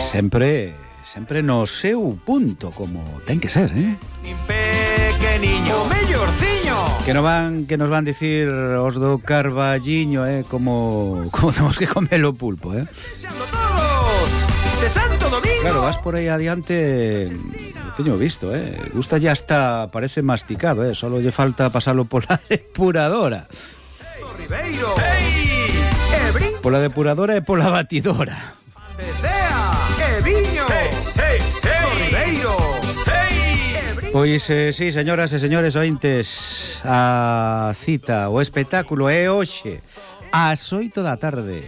Sempre no seu punto, como ten que ser, eh? Nin pequeniño, o mellorciño. Que nos van dicir os do Carballiño, como temos que comer o pulpo, eh? Deseando todos de Santo Domingo. Claro, vas por aí adiante, lo teño visto, gusta ya hasta, parece masticado, solo lle falta pasalo pola depuradora. Ribeiro. Hey, pola depuradora e pola batidora. Desea, que viño. Hey, Ribeiro. Hey, pois, sí, señoras e señores ointes, a cita, o espectáculo é hoxe ás 8 da tarde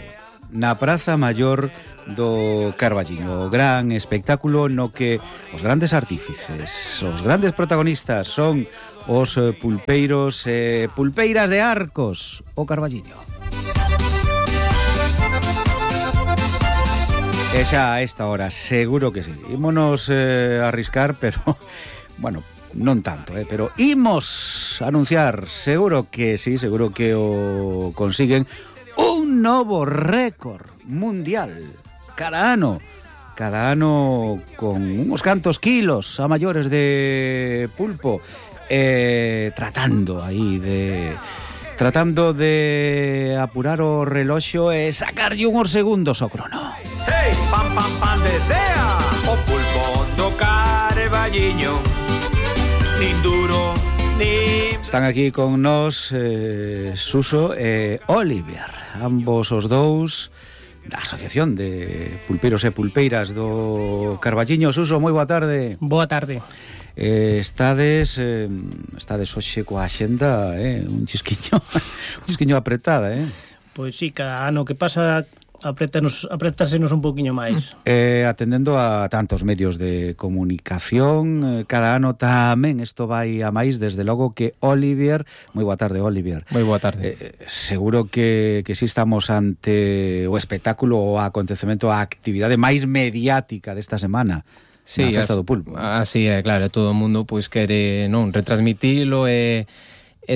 na Praza Maior do Carballiño, o gran espectáculo no que os grandes artífices, os grandes protagonistas son os pulpeiros e pulpeiras de Arcos, o Carballiño. E xa a esta hora, seguro que sí. Ímonos arriscar, pero, bueno, non tanto, pero imos anunciar, seguro que sí, seguro que o consiguen, un novo récord mundial. Cada ano con uns cantos kilos a maiores de pulpo, tratando de apurar o reloxo e sacarlle unhos segundos ao crono. Hey, pam, desea o pulpo do Carballiño. Nin duro, nin... Están aquí con nós Suso e Oliver, ambos os dous da Asociación de Pulpeiros e Pulpeiras do Carballiño. Suso, moi boa tarde. Boa tarde. Estades hoxe coa axenda, un chisquiño apretada, Pois sí, cada ano que pasa apretásenos un poquinho máis. Atendendo a tantos medios de comunicación, cada ano tamén isto vai a máis, desde logo que Oliver, moi boa tarde, Oliver. Moi boa tarde. Seguro que si estamos ante o espectáculo, o acontecemento, a actividade máis mediática desta semana. Sí, na festa do pulpo. Así é, claro, todo o mundo pois quere retransmitilo e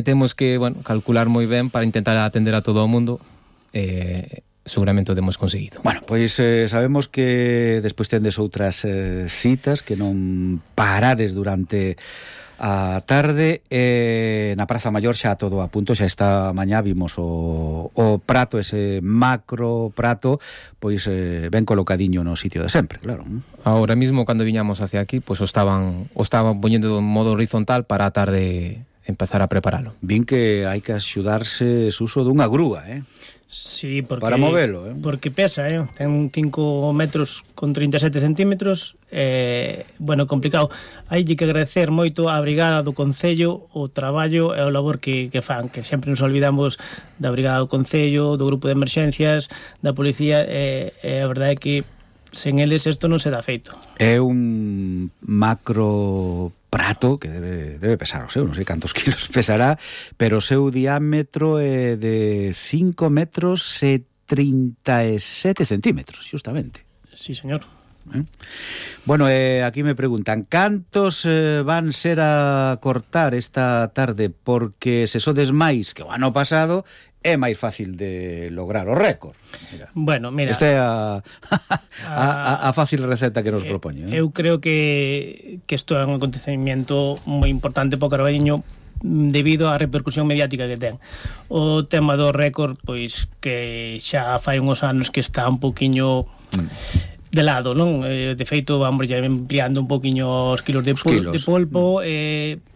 temos que, calcular moi ben para intentar atender a todo o mundo. Seguramente o demos conseguido. Bueno, pois sabemos que despois tendes outras citas que non parades durante a tarde, na Praza Maior xa todo a punto, xa esta mañá vimos o prato, ese macro prato, pois ben colocadiño no sitio de sempre, claro. Ahora mismo, cando viñamos hacia aquí, pois o estaban poñendo de modo horizontal para a tarde empezar a preparalo. Vin que hai que axudarse uso dunha grúa, Sí, porque, para movelo, porque pesa, ten 5 metros con 37 centímetros, complicado. Hai que agradecer moito á Brigada do Concello o traballo e o labor que fan, que sempre nos olvidamos da Brigada do Concello, do grupo de emerxencias, da policía, e a verdade é que sen eles isto non se dá feito. É un macro prato que debe pesar o seu, non sei cantos kilos pesará, pero o seu diámetro é de 5 metros e 37 centímetros, justamente. Sí, señor. Bueno, aquí me preguntan, cantos van ser a cortar esta tarde? Porque se sodes máis que o ano pasado, é máis fácil de lograr o récord. Mira. Esta é a fácil receta que nos propoñe. Eu creo que isto é un acontecemento moi importante para o Carballiño debido á repercusión mediática que ten. O tema do récord, pois que xa fai uns anos que está un poquinho de lado, non? De feito, vamos ya ampliando un poquinho os kilos de polpo,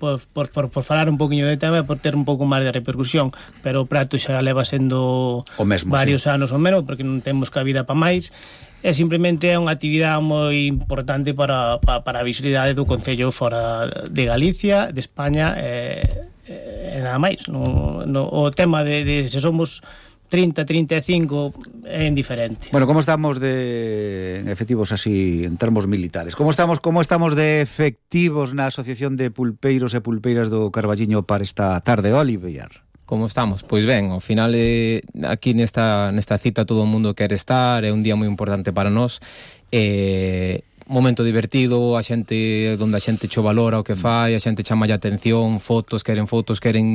por falar un poquinho de tema, por ter un pouco máis de repercusión, pero o prato xa leva sendo varios anos ou menos, porque non temos cabida para máis, e simplemente é unha actividade moi importante para a visibilidade do Concello fora de Galicia, de España, e nada máis. O tema de se somos 30, 35 é indiferente. Bueno, como estamos de efectivos así en termos militares? Como estamos de efectivos na Asociación de Pulpeiros e Pulpeiras do Carballiño para esta tarde, Oliver? Como estamos? Pois ben, ao final aquí nesta cita todo o mundo quere estar, é un día moi importante para nós, momento divertido, a xente onde a xente cho valora o que fai, a xente chama a atención, fotos, queren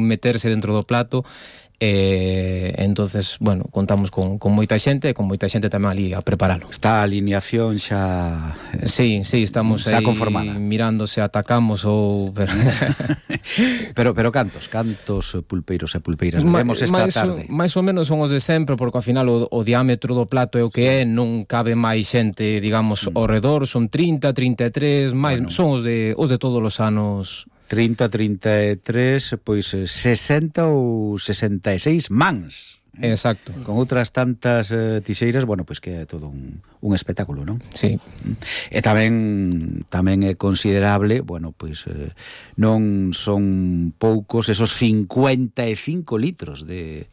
meterse dentro do plato. entonces, bueno, contamos con moita xente e con moita xente tamén ali a preparalo. Está a alineación xa Sí, estamos xa aí conformada. mirando se atacamos ou pero cantos pulpeiros e pulpeiras veremos esta tarde. Mais ou menos son os de sempre, porque ao final o diámetro do plato é o que é, non cabe máis xente, digamos, ao redor, son 30, 33, máis, son os de todos os anos. 30, 33, pois 60 ou 66 mans. Exacto. Con outras tantas tixeiras, bueno, pois que é todo un espectáculo, non? Sí. E tamén é considerable, bueno, pois non son poucos esos 55 litros de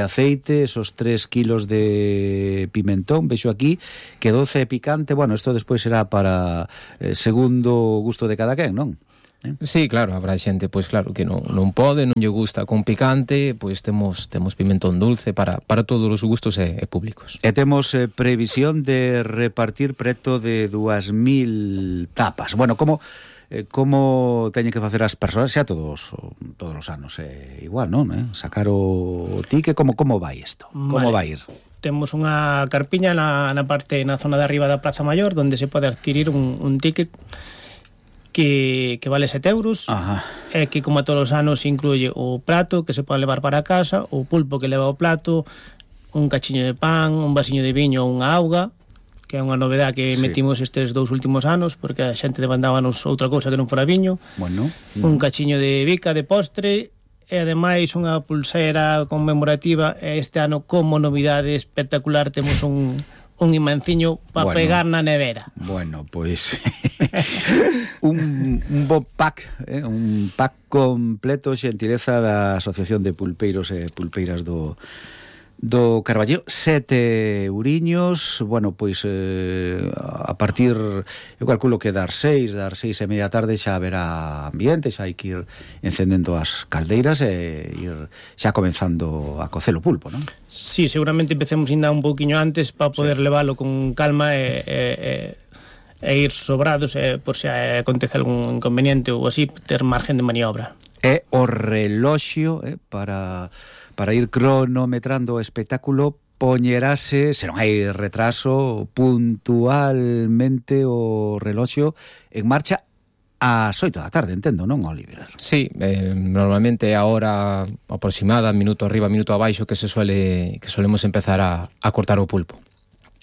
aceite, esos 3 kilos de pimentón, vexo aquí, que 12 picante, bueno, isto despois será para segundo gusto de cada quen, non? Sí, claro, habrá xente, pois claro, que non pode, non lle gusta con picante, pois temos pimentón dulce para todos os gustos e públicos. E temos previsión de repartir preto de 2.000 tapas. Bueno, como teñen que facer as persoas xa todos os anos igual, non? Sacar o ticket, como vai isto? Como vai ir? Temos unha carpiña na zona de arriba da Praza Maior, onde se pode adquirir un ticket que vale 7 euros. Ajá. E que, como a todos os anos, incluye o prato que se pode levar para casa, o pulpo que leva o plato, un cachiño de pan, un vasiño de viño ou unha auga, que é unha novedade que metimos estes 2 últimos anos, porque a xente demandábanos outra cousa que non fora viño. Bueno. Un cachiño de bica de postre, e ademais unha pulsera conmemorativa. Este ano, como novidade espectacular, temos un imanciño para pegar na nevera. Bueno, pois un bo pack, un pack completo, xentileza da Asociación de Pulpeiros e Pulpeiras do Carballiño, 7 euriños. Bueno, pois a partir, eu calculo que dar 6 e media da tarde xa haberá ambiente, xa hai que ir encendendo as caldeiras e ir xa comenzando a cocer o pulpo, non? Sí, seguramente empecemos ainda un pouquiño antes para poder leválo con calma e ir sobrados, por se acontece algún inconveniente ou así, ter margen de maniobra. É o reloxio para ir cronometrando o espectáculo, poñerase, se non hai retraso, puntualmente o reloxio en marcha ás 8 da tarde, entendo, non, Oliver? Sí, normalmente a hora aproximada, minuto arriba, minuto abaixo, que solemos empezar a cortar o pulpo.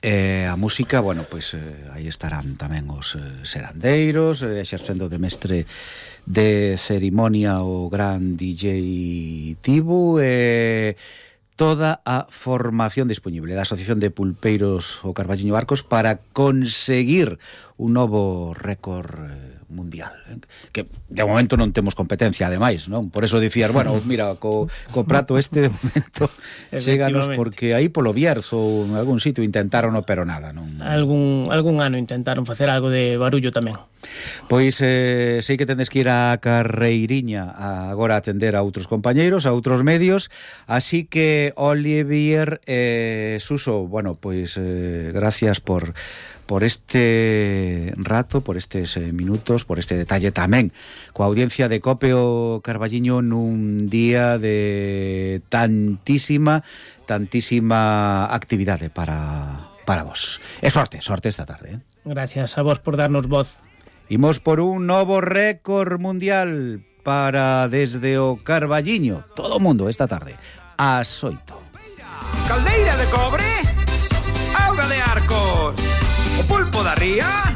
A música, bueno, pois aí estarán tamén os serandeiros, exercendo de mestre de cerimonia o gran DJ Tibu, toda a formación disponible da Asociación de Pulpeiros o Carballiño Arcos para conseguir un novo récord mundial, que de momento non temos competencia, ademais, non? Por eso dicías, bueno, mira, co prato este de momento cheganos, porque aí polo Bierzo ou en algún sitio intentaron, pero nada, non? Algún ano intentaron facer algo de barullo tamén. Pois sei que tendes que ir a Carreiriña agora a atender a outros compañeiros, a outros medios, así que Olivier Suso, bueno, pois gracias por este rato, por estes minutos, por este detalle tamén coa audiencia de COPE o Carballiño nun día de tantísima actividade para vos. E sorte esta tarde. Gracias a vos por darnos voz. Imos por un novo récord mundial para desde o Carballiño, todo o mundo esta tarde ás 8. Caldeira de cobre, auga de Arcos, o pulpo da ría.